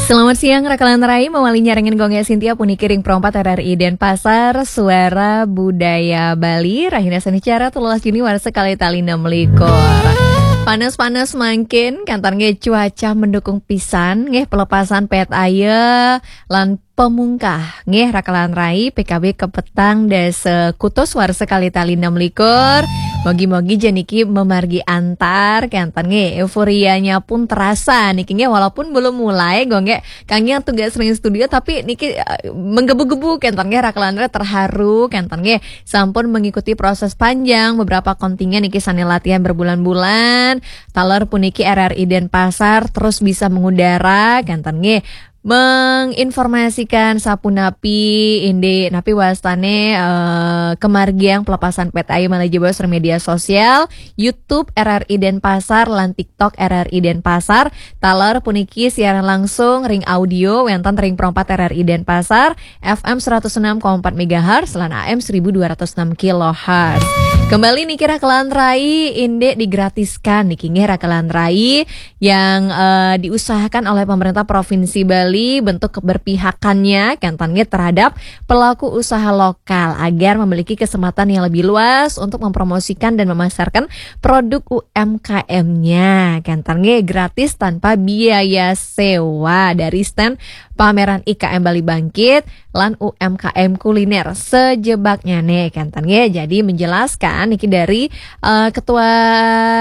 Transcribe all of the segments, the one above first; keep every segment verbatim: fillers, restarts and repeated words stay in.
Selamat siang, Rakalan Rai, mawali nyarengin Gung Gé Sintia puniki ring Pro empat R R I Denpasar, Suara Budaya Bali, rahina Senicara telulas Juni warsa kalih tali enam likur. Panas-panas mangkin, kénten nggih cuaca mendukung pisan, nggih pelepasan pét aye, lan pamungkah, nggih Rakalan Rai, P K B kapetang dasa kutus warsa kalih tali enam likur. Mogi-mogi ja niki mamargi antar, kénten nggih euforianya pun terasa niki nggih, walaupun belum mulai, Gung Gé kangge tugas ring studio, tapi niki, eh, menggebu-gebu, kénten nggih Rakalan Rai terharu, kénten nggih sampun mengikuti proses panjang, beberapa kontingen niki sane latihan berbulan-bulan, taler puniki R R I Denpasar terus bisa mengudara, kénten nggih menginformasikan sapunapi indik napi wastane, eh, kamargiang pelepasan pét aye malih jebos ring media sosial, YouTube R R I Denpasar lan TikTok R R I Denpasar. Taler puniki siaran langsung ring audio wenten ring Pro empat R R I Denpasar, F M seratus enam koma empat megahertz lan A M seribu dua ratus enam kilohertz. Kembali niki Rakalan Rai, indik digratiskan niki nggih Rakalan Rai yang, eh, diusahakan oleh pemerintah Provinsi Bali, bentuk keberpihakannya, kénten nggih, terhadap pelaku usaha lokal agar memiliki kesempatan yang lebih luas untuk mempromosikan dan memasarkan produk U M K M-nya. Kénten nggih, gratis tanpa biaya sewa dari stand pameran I K M Bali Bangkit lan U M K M kuliner sejebaknya nih, kénten nggih. Jadi menjelaskan niki dari, eh, Ketua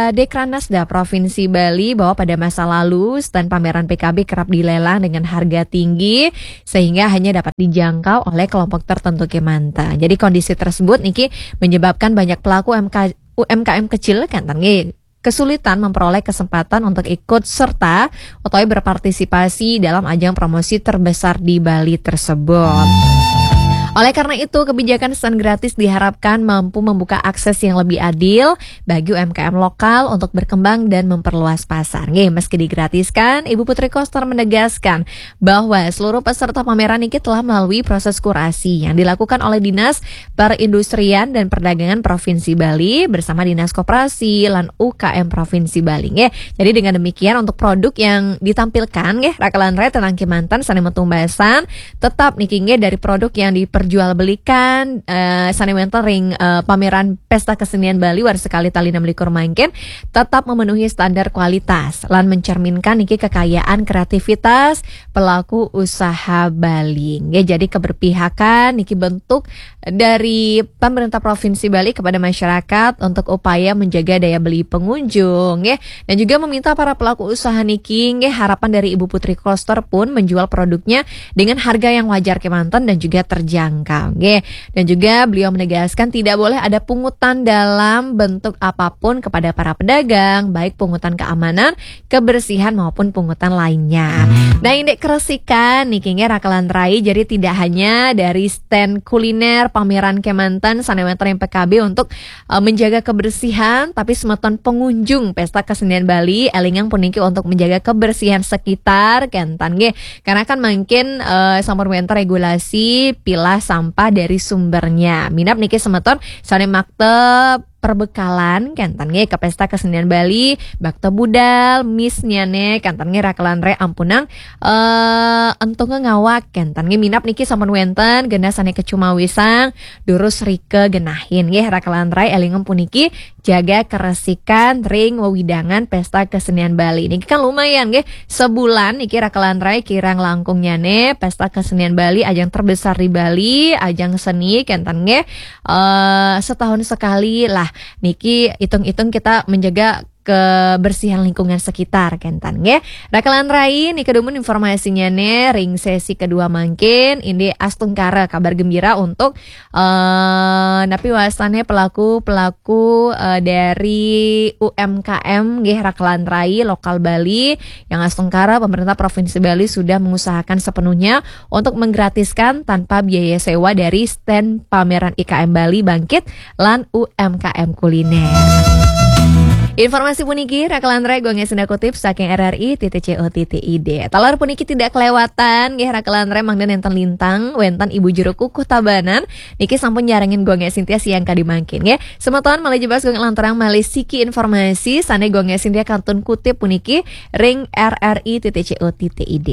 Dekranasda Provinsi Bali bahwa pada masa lalu stand pameran P K B kerap dilelang dengan harga tinggi sehingga hanya dapat dijangkau oleh kelompok tertentu kemanten. Jadi kondisi tersebut niki menyebabkan banyak pelaku M K, U M K M kecil, kénten nggih, kesulitan memperoleh kesempatan untuk ikut serta utawi berpartisipasi dalam ajang promosi terbesar di Bali tersebut. Oleh karena itu, kebijakan stand gratis diharapkan mampu membuka akses yang lebih adil bagi U M K M lokal untuk berkembang dan memperluas pasar. Nggih, meski digratiskan, Ibu Putri Koster menegaskan bahwa seluruh peserta pameran niki telah melalui proses kurasi yang dilakukan oleh Dinas Perindustrian dan Perdagangan Provinsi Bali bersama Dinas Koperasi lan U K M Provinsi Bali, nggih. Jadi dengan demikian, untuk produk yang ditampilkan, nggih, Rakalan Rai tenang kemanten sane metumbasan, tetap niki nggih dari produk yang diperjualbelikan, eh, sane wenten ring, eh, pameran Pesta Kesenian Bali warsa kalih tali enam likur mangkin tetap memenuhi standar kualitas lan mencerminkan niki kekayaan kreativitas pelaku usaha Bali. Nggih, jadi keberpihakan niki bentuk dari pemerintah Provinsi Bali kepada masyarakat untuk upaya menjaga daya beli pengunjung, nggih. Dan juga meminta para pelaku usaha niki, nggih, harapan dari Ibu Putri Koster pun menjual produknya dengan harga yang wajar kemanten dan juga terjangkau, nggih. Dan juga beliau menegaskan tidak boleh ada pungutan dalam bentuk apapun kepada para pedagang, baik pungutan keamanan, kebersihan maupun pungutan lainnya. Nah, indik keresikan niki nggih Rakalan Rai, jadi tidak hanya dari stand kuliner pameran kemanten sane wenten ring P K B untuk, eh, menjaga kebersihan, tapi semeton pengunjung Pesta Kesenian Bali elingang puniki untuk menjaga kebersihan sekitar, kénten nggih. Karena kan mangkin, eh, sampun wenten regulasi pilah sampah dari sumbernya. Minab niki semeton sane makta perbekalan, kénten nggih, ke Pesta Kesenian Bali, makta budal, misnya nih, kénten nggih Rakalan Rai ampunang, eh, entunge ngawak, kénten nggih. Minab niki sampun wenten genah sane kecumawisang, durus rika genahin nggih Rakalan Rai, elingang puniki jaga keresikan ring wewidangan Pesta Kesenian Bali. Niki kan lumayan nggih, sebulan niki Rakalan Rai kirang langkungnya nih Pesta Kesenian Bali, ajang terbesar di Bali, ajang seni, kénten nggih, eh, setahun sekali lah. Niki hitung-hitung kita menjaga kebersihan lingkungan sekitar, kénten nggih. Rakalan Rai, niki dumun informasinya nih ring sesi kedua mangkin, indik astungkara kabar gembira untuk, eh, napi wastane pelaku-pelaku, eh, dari U M K M nggih Rakalan Rai lokal Bali yang astungkara pemerintah Provinsi Bali sudah mengusahakan sepenuhnya untuk menggratiskan tanpa biaya sewa dari stand pameran I K M Bali Bangkit lan U M K M Kuliner. Informasi puniki Raka lan Ré Gung Esinta kutip saking R R I titik C O titik I D. Taler puniki tidak kelewatan nggih Raka lan Ré, mangda nénten lintang wénten Ibu Juru Kukuh Tabanan niki sampun nyarengin Gung Esinta siang kadi mangkin nggih. Semeton malih jebos Gung lanturang malih siki informasi sané Gung Esinta kantun kutip puniki ring R R I titik C O titik I D.